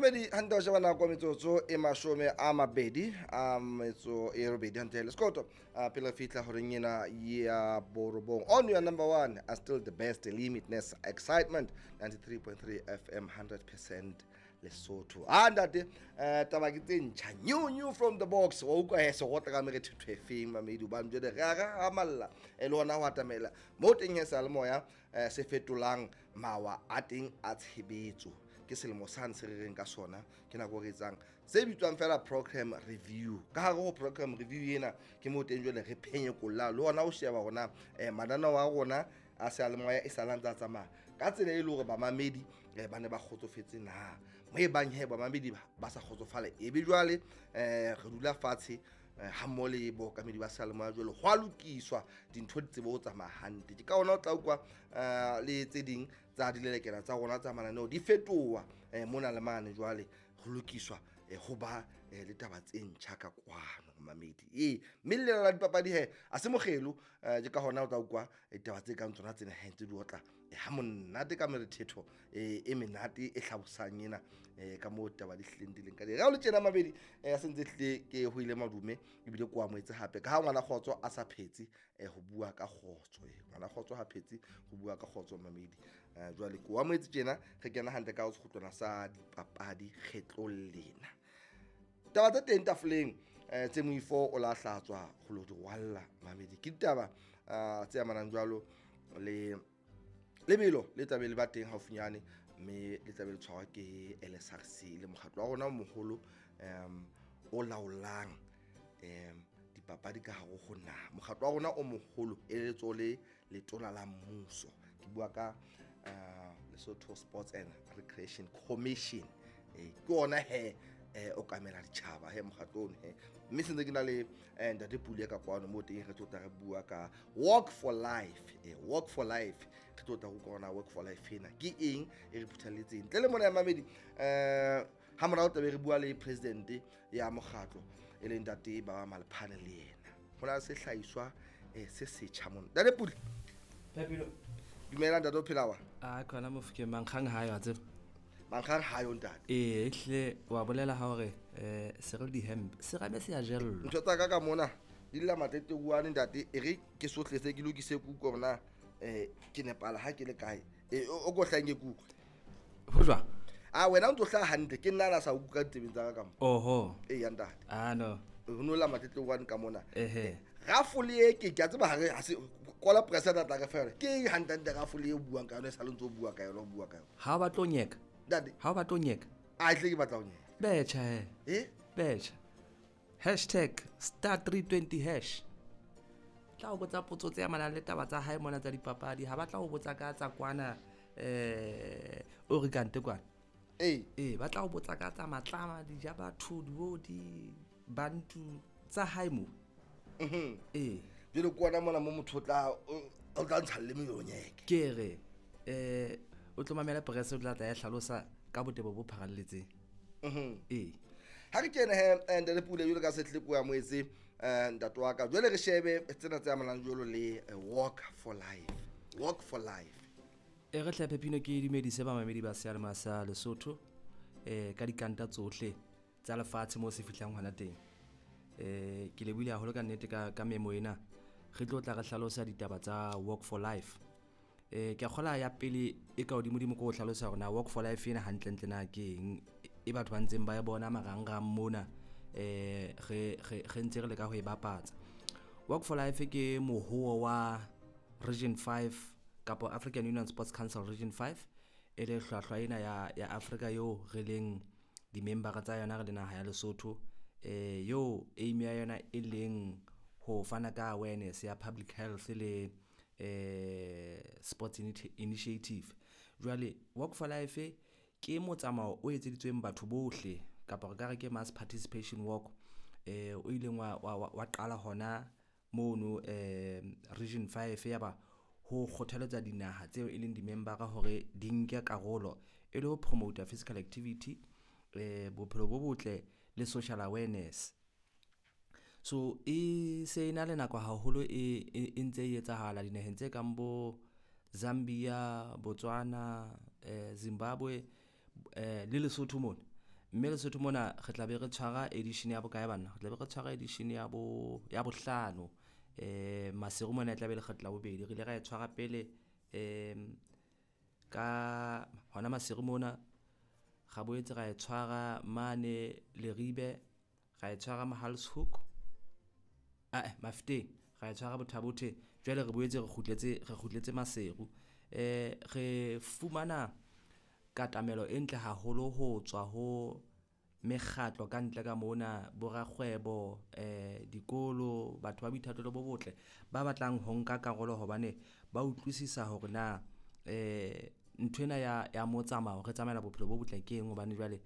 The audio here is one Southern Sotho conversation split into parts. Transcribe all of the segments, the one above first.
Mamedi hantle ho sheba nako metsotso e 28 hantle le sekoto pele re fihla horeng ena ya 9. On your number one are still the best limitless excitement 93.3 FM 100% Lesotho. Ntate taba ke tse ntjha, new from the box. Wa utlwa he se gotla ka merethetho e feng mamedi, hobane jwale re a re hamalla e le hona ho atamela mo teng he seyalemoya se fetolang mawa a teng a tshebetso. Ke selemo sane se re reng ka sona, ke nako re etsang se bitswang fela program review. Ka hare ho program review ena ke mo teng jwale re phenyekolla le hona ho sheba hona mananeo a rona a seyalemoya e sala ntse a tsamaya ka tsela e le hore bamamedi ba ne ba kgotsofetse na. Mo e bang he bamamedi ba sa kgotsofala, ebe jwale re dula fatshe ha mmoho le bookamedi ba seyalemoya jwale ho a lokiswa dintho di tsebe ho tsamaya hantle. Ke ka hona o tla utlwa le tse ding tsa dilelekela tsa rona tsa mananeo di fetoha mona le mane, jwale ho lokiswa ho ba le taba tse ntjha ka kwano mamedi. Ee, mme le la dipapadi he a se mokgelo, ke ka hona o tla utlwa ditaba tse kang tsona tsena he ntse di otla ha monate ka merethetho e menate e hlabosang ena ka moo taba di hlileng di leng ka teng. Ha o le tjena mabedi a sentse hlile ke ho ile madume ebile ko amohetse hape ka ha ngwana kgotso a sa phetse ho bua ka kgotso. Ngwana kgotso ha phetse ho bua ka kgotso mamedi. Jwale ko amohetse tjena re kena hantle ka ho sekgutlwana sa dipapadi kgetlong lena. Taba tse teng tafoleng tse moifo o la hlatswa ho lo di rwalla mamedi, ke ditaba tse amanang jwalo le lebelo le tlabe le ba teng haufinyane, mme le tlabe le tshwarwa ke LSRC le mokgatlo wa rona o moholo o laolang dipapadi ka hare ho naha. Mokgatlo wa rona o moholo e letso le letona la mmuso, ke bua ka Lesotho Sports and Recreation Commission. Ke ona he o kamela ditjhaba he mokgatlo ono he, mme sentse ke na le ntate Pule ka kwano mo teng re tlo tla re bua ka Walk for Life. Walk for Life re tlo tla go kona Walk for Life ena ke eng e re phuthalletseng ntle le mona ya mamedi. Ha morao tlabe re bua le president ya mokgatlo e leng ntate Baba Malephane, le yena ho na le sehlahiswa se setjha mona. Ntate Pule, Pepilo, dumela ntate, o phela wa? A khona mofokeng mankgang ha yo tseba. Mankgang ha yo ntate. Ee, ehlile wa bolela ha hore se re di-hemp se rabe se a jellwa. Ntho tsa ka ka mona di lla matleteuwane ntate, e re ke sohle se ke lokise kuku hore na ke nepala ha ke le kae. O ko hlahang ke kuku. Ho jwang? A wena o ntso hlaha hantle, ke nna na sa utlwa ditsebeng tsa ka ka mo. Oho. Ee ya ntate. Ah no. Ho no lla matleteuwane ka mona. Ehe. Rafole e ke a tseba hare ha se kola president a tla re fa yona. Ke eng hantle hantle rafole e o buang ka yona e sa le ntso o bua ka yona, o bua ka yona? Ha o batla ho nyeka? Ntate. Ha o batla ho nyeka? A tle ke batla ho nyeka. Betjha he. Eh? Betjha. Hashtag star 320 hash. Tla o botsa potso tse amanang le taba tsa hae mona tsa dipapadi. Ha batla ho botsa ka tsa kwana o re kante kwana. Ee. Ee, ba tla o botsa ka tsa matlama, dija batho, diodi, bantu tsa hae mo. Ee. Jwale ke ona mona mo motho o tla ntsha le melonyeke. Ke re o tlo mamela press o tla tla ya hlalosa ka botebo bo pharalletseng. Ee. Ha re kene he ntate Pule jwalo ka setle ko ya moetse ntate wa ka. Jwale re shebe tsena tse amanang jwalo le Walk for Life. Walk for Life. E re hle Pepino ke dumedise bamamedi ba seyalemoya sa Lesotho ka dikanta tsohle tsa lefatshe moo se fihlang hona teng. Ke lebohile haholo ka nnete ka memo ena. Re tlo tla re hlalosa ditaba tsa Walk for Life. Ke a kgola ya pele e ka hodimodimo ke ho hlalosa hore na Walk for Life ena hantlentle na ke eng, e batho ba ntseng ba e bona marangrang mona re ntse re leka ho e bapatsa. Walk for Life ke mohoo wa Region 5 kapa African Union Sports Council Region 5, e le hlwahlwa ena ya Afrika eo re leng di-membera tsa yona re le naha ya Lesotho, eo aim ya yona e leng ho fana ka awareness ya public health le sports initiative. Jwale Walk for Life ke motsamao o etseditsweng batho bohle, kapa re ka re ke mass participation walk o ileng wa qala hona mono Region 5 ya ba ho kgothaletsa dinaha tseo e leng di-membera hore di nke karolo e le ho promote physical activity, bophelo bo botle le social awareness. So e se na le nako haholo e ntse e etsahala dinaheng tse kang bo Zambia, Botswana, Zimbabwe le Lesotho mona. Mme Lesotho mona re tla be re tshwara edition ya bokae banna? Re tla be re tshwara edition ya bo ya bohlano. Maseru mona e tla be lekgetlo la bobedi. Re ile ra e tshwara pele ka hona Maseru mona, ra boetse ra e tshwara mane Leribe, ra e tshwara Mohale's Hoek ae Mafeteng, ra e tshwara Botha Bothe. Jwale re boetse re kgutletse re kgutletse Maseru. Re fumana katamelo e ntle haholo ho tswa ho mekgatlo kantle ka mona borakgwebo dikolo, batho ba boithatelo bo botle ba batlang ho nka karolo hobane ba utlwisisa hore na nthwena ya ya motsamao re tsamaela bophelo bo botle ke eng. Hobane jwale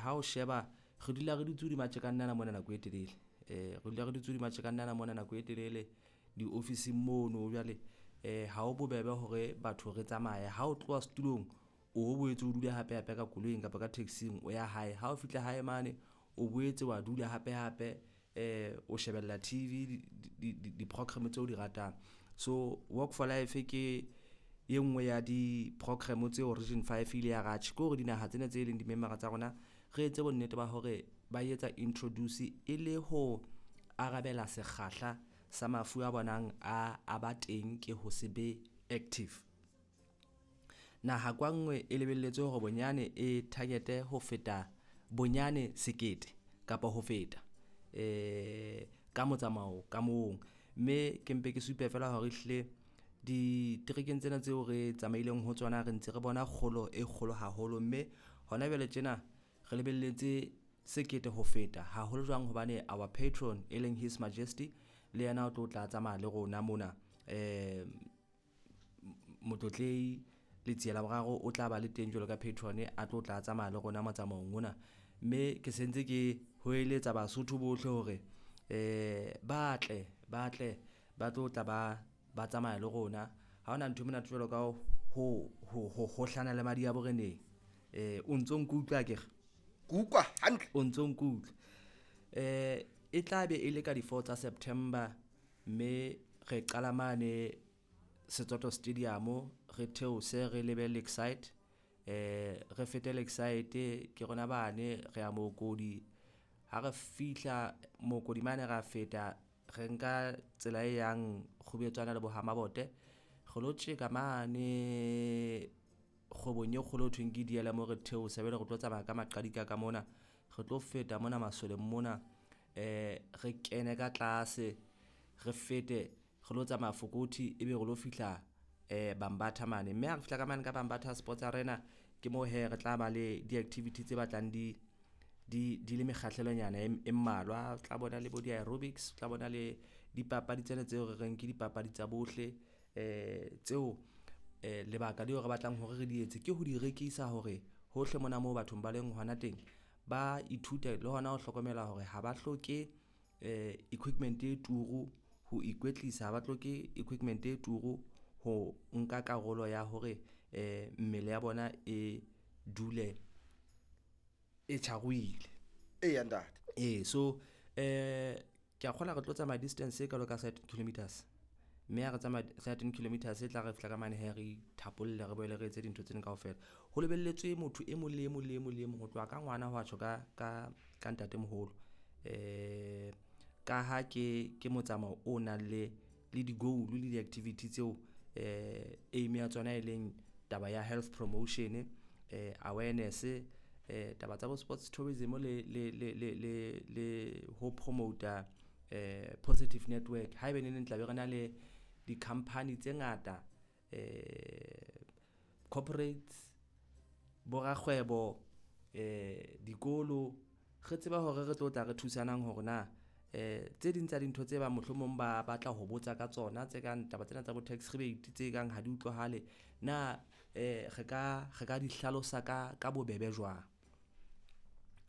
ha o sheba re dula re dutse hodima tjekanyana mona nako e telele, re dula re dutse hodima tjekanyana mona nako e telele diofising mono. Jwale ha ho bobebe hore batho re tsamaye ha o tloha setulong, o boetse o dule hape hape ka koloing kapa ka taxi-ng o ya hae. Ha o fihla hae mane, o boetse wa dula hape hape o shebella TV di-program tseo di ratang. So Walk for Life ke e nngwe ya di-program tseo Region Five ile ya re atjhe ke hore dinaha tsena tse leng di-member-a tsa rona re etse bonnete ba hore ba etsa introduce e le ho arabela sekgahla sa mafu a bonang a a ba teng ke ho se be active. Naha kwa nngwe e lebelletswe hore bonyane e target ho feta bonyane sekete kapa ho feta ka motsamao ka mong. Mme ke mpe ke supe feela hore ehlile diterekeng tsena tseo re tsamaileng ho tsona, re ntse re bona kgolo e kgolo haholo. Mme hona jwale tjena re lebelletse sekete ho feta haholo jwang hobane our patron e leng His Majesty le yena o tlo tla tsamaya le rona mona. Motlotlehi Letsie la Boraro o tla ba le teng jwalo ka patron a tlo tla tsamaya le rona motsamaong ona. Mme ke sentse ke hoeletsa Basotho bohle hore ba tle ba tle ba tlo tla ba ba tsamaya le rona. Ha hona ntho e monate jwalo ka ho hohlana le madi a boreneng. O ntso nkutlwa akere? Ke utlwa hantle. O ntso nkutlwa. E tla be e le ka di-four tsa September mme re qala mane Setsoto Stadium re theose re lebe Lakeside. Re fete Lakeside ke rona bane re ya Mookodi. Ha re fihla Mookodi mane ra feta re nka tsela e yang Kgubetswana le bo ha Mabote. Re lo tjeka mane kgwebong e kgolo ho thweng ke DLM re theose jwale re tlo tsamaya ka maqadika ka mona. Re tlo feta mona masoleng mona re kene ka tlase re fete re lo tsamaya Fokothi ebe re lo fihla Bambatha mane. Mme ha re fihla ka mane ka Bambatha Sports Arena ke mo hee re tla ba le di-activity tse batlang di le mekgahlelonyana e mmalwa. O tla bona le bo di-aerobics, o tla bona le dipapadi tsena tseo re reng ke dipapadi tsa bohle tseo lebaka leo re batlang hore re di etse ke ho di rekisa hore hohle mona moo bathong ba leng hona teng ba ithute le hona ho hlokomela hore ha ba hloke equipment e turu ho ikwetlisa, ha ba hloke equipment e turu ho nka karolo ya hore mmele ya bona e dule e tjharohile. Eya ntate. Ee, so ke a kgolwa re tlo tsamaya distance e kalo ka 13 kilometers. Mme ha re tsamaya 13 kilometers e tla re fihla ka mane hee re ithapolle re boele re etse dintho tsena kaofela. Ho lebelletswe motho e mong le e mong le e mong le e mong ho tloha ka ngwana ho wa tjho ka ntatemoholo. Ka ha ke motsamao o nang le di-goal le di-activity tseo aim ya tsona e leng taba ya health promotion, awareness, taba tsa bo sports tourism le ho promote-a positive network. Haebaneng tla be re na le di-company tse ngata corporates, borakgwebo, dikolo re tseba hore re tlo tla re thusanang hore na tse ding tsa dintho tse bang mohlomong ba batla ho botsa ka tsona tse kang taba tsena tsa bo tax rebate tse kang ha di utlwahale na re ka di hlalosa ka bobebe jwang.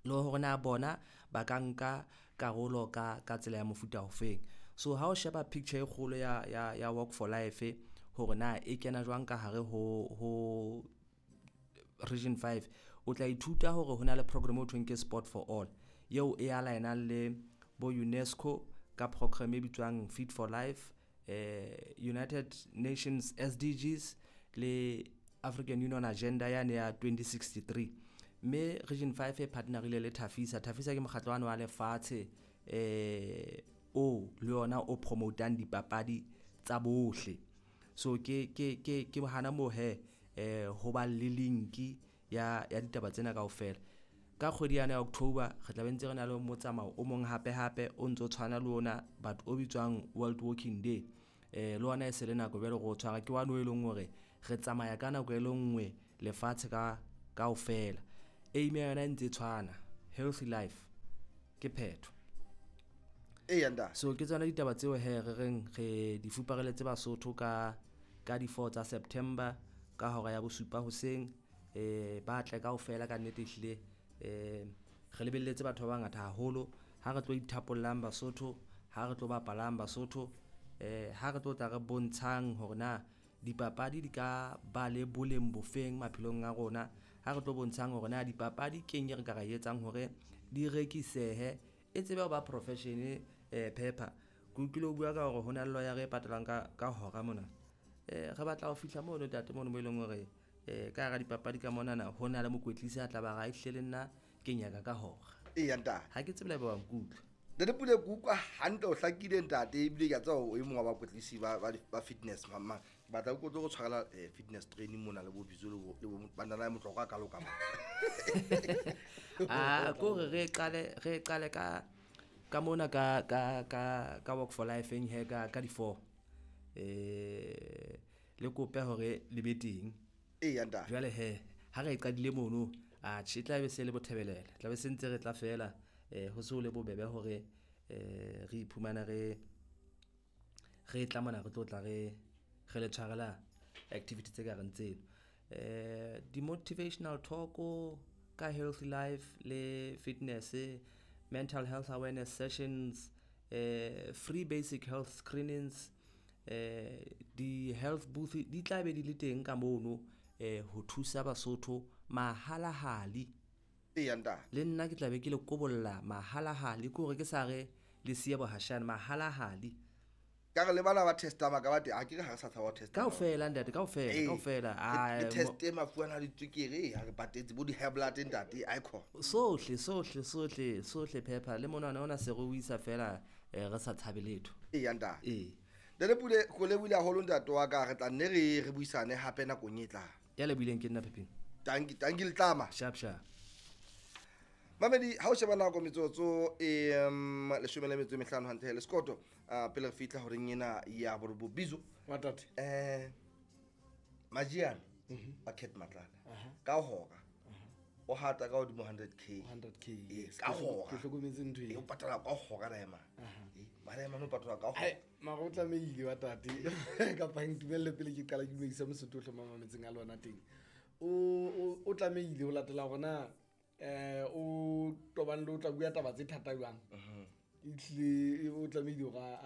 Le hore na bona ba ka nka karolo ka tsela ya mofuta ofeng. So ha o sheba picture e kgolo ya Walk for Life hore na e kena jwang ka hare ho Region 5, o tla ithuta hore hona le program eo thweng ke Sport for All eo e align-ang le bo UNESCO ka program e bitswang Fit for Life, United Nations SDGs le African Union Agenda yane ya 2063. Mme Region 5 e partnerile le Tafisa. Tafisa ke mokgatlo wa lefatshe o le yona o promotang dipapadi tsa bohle. So ke hana moo he ho ba le linki ya ditaba tsena kaofela. Ka kgwedi yana ya October re tla be ntse re na le motsamao o mong hape hape o ntso tshwana le ona, but o bitswang World Walking Day. Le ona e se le nako jwale re o tshwara, ke one o e leng hore re tsamaya ka nako e le nngwe lefatshe ka kaofela. Aim ya yona e ntse tshwana, healthy life ke phetho. So ke tsona ditaba tseo he re reng re di fupareletse Basotho ka di-4 tsa September ka hora ya 7 hoseng. Ba tle kaofela ka nnete ehlile. Re lebelletse batho ba bangata haholo. Ha re tlo ithapollang Basotho, ha re tlo bapalang Basotho, ha re tlo tla re bontshang hore na dipapadi di ka ba le boleng bofeng maphelong a rona, ha re tlo bontshang hore na dipapadi keng e re ka ra etsang hore di rekisehe, e tsebe ho ba profession. Pepper ke utlwile o bua ka hore ho na le lawyer e patalang ka hora mona. Re batla ho fihla mono tate mono mo e leng hore ka hara dipapadi ka monana ho na le mokwetlisi a tla ba ra ehlile le nna ke nyaka ka hora. Eya ntate. Ha ke tsebe le ba nkutlwa. Ntate Pule, ke utlwa hantle, o hlakile ntate, ebile ke a tseba o e mong wa bakwetlisi ba fitness mang. Ke batla o tlo go tshwarela fitness training mona le bo Bizo le bo banana ya motlokwa ka loka. Ah, ko re qale ka mona ka Walk for Life eng he ka di-4. Le kope hore le be teng. Eya ntate. Jwale he ha re qadile mono, a tjhe tla be se le bothebelele, tla be se ntse re tla fela, ho se ho le bobebe hore re iphumana re tla mona re tlo tla re le tshwarela activity tse ka reng tseno. Di-motivational talk ka healthy life le fitness, mental health awareness sessions, free basic health screenings, di health booth di tla be di le teng ka mono, ho thusa Basotho mahalahali. Eya ntate. Le nna ke tla be ke le kobolla mahalahali, ke hore ke sa re le siya bohashane, mahalahali. Ka re le bana ba testa maka ba teng, ha ke re ha re sa tshaba ho testa. Kaofela ntate, kaofela. Le teste mafu ana a ditswekere, ha re patetse bo di-high blood ntate, icon. Sohle Pepper, le monwana ona se re o isa fela, re sa tshabe letho. Eya ntate. Ee. Ntate Pule, ko lebohile haholo ntate wa ka, re tla nne re buisane hape nakong e tlang. Ya lebohileng ke nna Pepino. Tanki letlama. Sharp sharp. Mamedi, ha o sheba nako metsotso 15 hantle le sekoto, pele re fihla horeng ena ya borobo Bizo. Wa tate. Majiane a Cat Matlala ka hora o hata ka hodimo 100k. 100k. Yes. Ka hora. Ke hlokometse ntho e. O patala ka hora daema. Mara ema no patala ka hora. Mara o tlamehile wa tate. Kapa ntumelle pele ke qala ke dumedisa Mosotho ohle mamametseng a lona teng. O tlamehile ho latela hore na o tobane le o tla bua taba tse thata jwang. Ehlile o tlamehile hore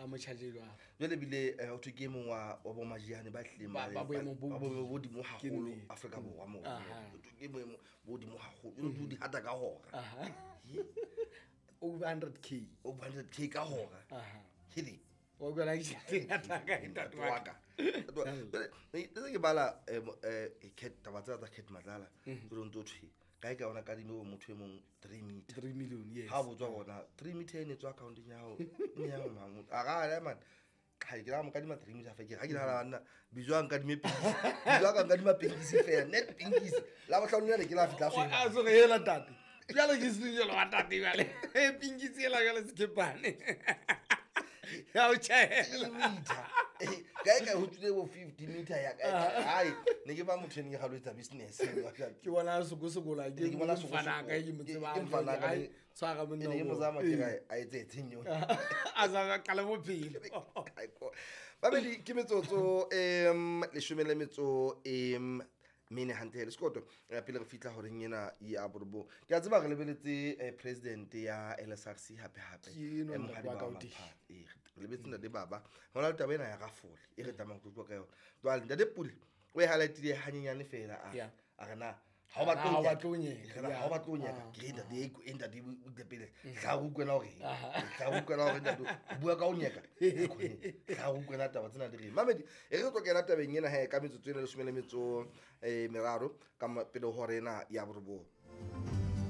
a mo charge jwang. Jwale bile o thwe ke e mong wa bo Majiane ba hlileng ba boemo bo ba boemo bo hodimo haholo Afrika Borwa moo. O thwe ke boemo bo hodimo haholo. Jwale o di hata ka hora. Over 100k. Over 100k ka hora. Hedi. Wa utlwa ke tjhelete e ngata kae ntate wa ka. Ne ke bala Cat taba tsa Cat Matlala. Jwale o ntso thwe kae ka ona kadime bo motho e mong 3 meter. 3 million, yes. Ha botswa bona 3 meter e ne tswa accounteng ya hao. Ne ya mang. A ga man. Ha ke ra mo kadima 3 meter fa ke ha ke nahana nna Bizo a nkadime pinkisi. Bizo a ka nkadima pinkisi fela, net pinkisi. La bohlano le ke la fihla fela. A so re hela ntate. Jwale ke sejelo wa tate jwale. Pinkisi ela jwale sekepane. Ya o tjhela. Meter. Kae kae ho tswile bo 50 meter ya kae kae. Hai, ne ke ba motho e ne ke galo etsa business. Ke bona sokosokola ke bona sokosokola ka ke mo tseba. Ke mfana ka tshwara monna. Ne ke mo zama ke re a etse tshenyo. A sa qala bophelo. Babedi ke metsotso 14 mene hantle le sekoto pele re fihla horeng ena ya borobo. Ke a tseba re lebeletse president ya LSRC hape hape. Re lebetse ntate Baba. Hona le taba ena ya rafole e re tlamang ho tloha ka yona. Jwale ntate Pule o e highlightile hanyenyane fela a re na Ha o batle Ha ho o nyeka. batle ho nyeka, Ha o yeah. batle ho nyeka. Ke re ntate, e ntate, o tle pele. Tla re utlwela hore eng. Tla re utlwela hore ntate, o bua ka ho nyeka. Tla re utlwela taba tsena di reng. Mamedi, e re tlo kena tabeng ena he ka metsotso ena 13 meraro ka pele ho hora ena ya borobong.